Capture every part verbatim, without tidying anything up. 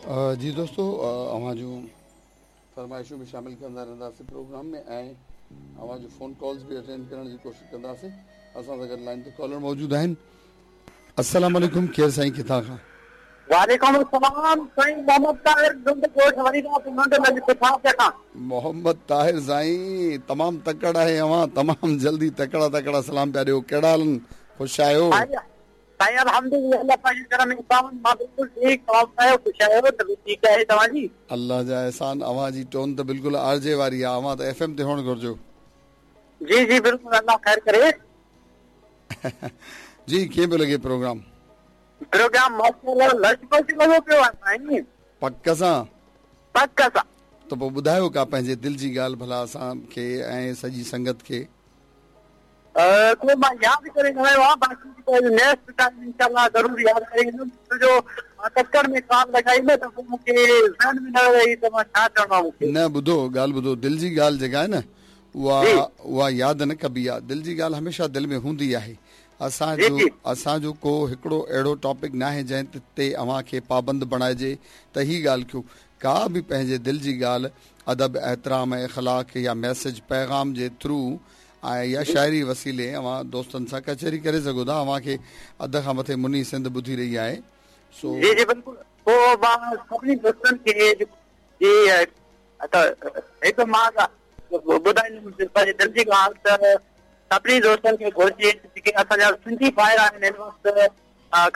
जी दोस्तो, अव्हां जूं फरमाइशूं बि शामिल कंदा रहंदासीं प्रोग्राम में ऐं अव्हां जो फ़ोन कॉल्स बि अटेंड करण जी कोशिशि कंदासीं। असां सां गॾु लाइन ते कॉलर मौजूदु आहिनि। अस्सलाम वालेकुम, केरु साईं, किथां खां? वालेकुम अस्सलाम साईं, मोहम्मद ताहिर खां। मोहम्मद ताहिर साईं, तमामु तकड़ आहे अव्हां, तमामु जल्दी तकड़ा तकड़ा सलाम पिया ॾियो। कहिड़ा हाल आहिनि? ख़ुशि आहियो? साईं अल्हम्दुलिल्लाह, अल्लाह पाक जे करम सां मां बिल्कुल ठीक। तव्हां ॿुधायो, ख़ुशि आहियो? तबियत ठीक आहे तव्हांजी? अल्लाह जा एहसान। अव्हां जी टोन त बिल्कुलु आरजे वारी आहे, अव्हां त एफ एम ते हुअणु घुर्जो। जी जी बिल्कुलु, अल्लाह ख़ैर करे। जी, कीअं पियो लॻे प्रोग्राम? प्रोग्राम माशाअल्लाह लश पश लॻो पियो आहे साईं। पक सां? पक सां। त पोइ ॿुधायो का पंहिंजे दिलि जी ॻाल्हि भला असांखे ऐं सॼी संगत खे। को मां यादि करे न आयो आहियां, बाक़ी नेक्स्ट टाइम इंशाअल्लाह ज़रूरु यादि करे ईंदुमि। छो जो मां तकड़ में कॉल लॻाई न त पोइ मूंखे ज़हन में न रही त मां छा चवणो आहे मूंखे। न ॿुधो, ॻाल्हि ॿुधो, दिलि जी ॻाल्हि जेका आहे न उहा उहा यादि न कबी आहे। दिलि जी ॻाल्हि हमेशा दिलि में हूंदी आहे। असांजो असांजो को हिकिड़ो अहिड़ो टॉपिक न आहे जंहिं ते अव्हां खे पाबंद बणाइजे त ही ॻाल्हि कयो। का बि पंहिंजे दिलि जी ॻाल्हि अदब, एहतराम ऐं इख़लाक़ या मैसेज पैगाम जे थ्रू ऐं या शाइरी वसीले अव्हां दोस्तनि सां कचहरी करे सघो था। अव्हांखे अध खां मथे मुनी सिंध ॿुधी रही आहे। सो जी जी बिल्कुलु। पोइ मां सभिनी दोस्तनि खे जी त हिकु मां ॿुधाईंदुमि पंहिंजे दिलि जी ॻाल्हि त सभिनी दोस्तनि खे घुरिजे जेके असांजा सिंधी भाइर आहिनि हिन वक़्तु,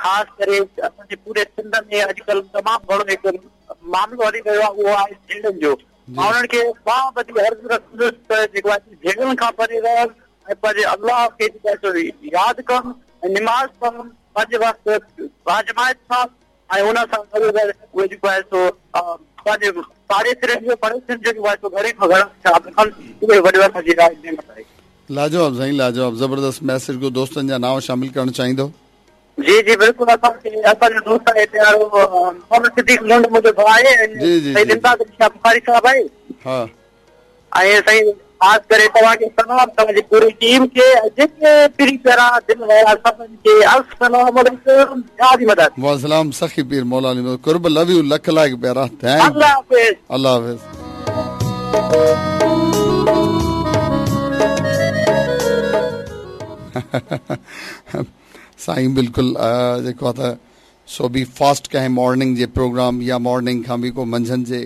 ख़ासि करे असांजे पूरे सिंध में अॼुकल्ह तमामु घणो हिकु मामिलो हली रहियो आहे, उहो आहे झेड़नि जो। मां उन्हनि खे मां वधीक अर्ज़ु रखंदुसि त जेको आहे झेड़नि खां परे रहनि ऐं पंहिंजे अल्लाह खे जेको आहे सो यादि कनि ऐं निमाज़ पढ़नि पंहिंजे वक़्तु बाजमायत सां ऐं उन सां गॾु गॾु उहे जेको आहे सो पंहिंजे पाड़ेसरियुनि जो पड़ोसियुनि जो जेको आहे सो घणे खां घणो ख़्यालु रखनि। उहे वॾो असांजी राय नेमत आहे। लाजवाब साईं, लाजवाब, ज़बरदस्त मैसेज को दोस्तनि जा नांव शामिल करणु चाहींदो? जी जी बिल्कुलु। असांखे असांजो दोस्त आहे हिते वारो मोहम्मद सिद्दीक़ लुंड मुंहिंजो भाउ आहे, साईं इमदाद शाह बुखारी साहिबु आहे। हा, ऐं साईं ख़ासि करे तव्हांखे सलाम, तव्हांजी पूरी टीम खे, जेके पीरी प्यारा दिलि वारा सभिनी खे अस्सलाम वालेकुम, या मदद। वासलाम सखी पीर मौला अली कुर्ब, लव you, लख लाइक प्यारा। Thank, अल्लाह हाफ़िज़। अल्लाह हाफ़िज़। साईं बिल्कुलु जेको आहे त सो बि फास्ट कंहिं मॉर्निंग जे प्रोग्राम या मॉर्निंग खां बि को मंझंदि जे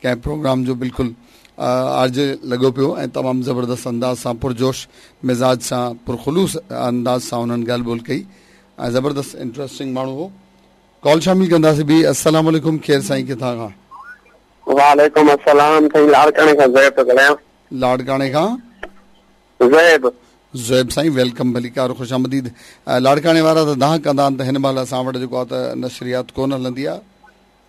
कंहिं प्रोग्राम जो बिल्कुलु आर्ज लॻो पियो ऐं तमामु ज़बरदस्त अंदाज़ सां, पुरजोश मिज़ाज सां, पुरख़ुलूस अंदाज़ सां उन्हनि ॻाल्हि ॿोल कई ऐं ज़बरदस्त इंटरेस्टिंग माण्हू हो। कॉल शामिल कंदासीं बि। अस्सलाम वालेकुम, केरु साईं, किथां खां? वालेकुम अस्सलाम साईं, लाड़काणे खां ज़ैब थो ॻाल्हायां। लाड़काणे खां ज़ैब। ज़ुएब साईं, welcome, भलीकार, ख़ुशि आमदीद। लाड़काणे वारा त दाह कंदा आहिनि त हिन महिल असां वटि जेको आहे त नशरियात कोन हलंदी आहे।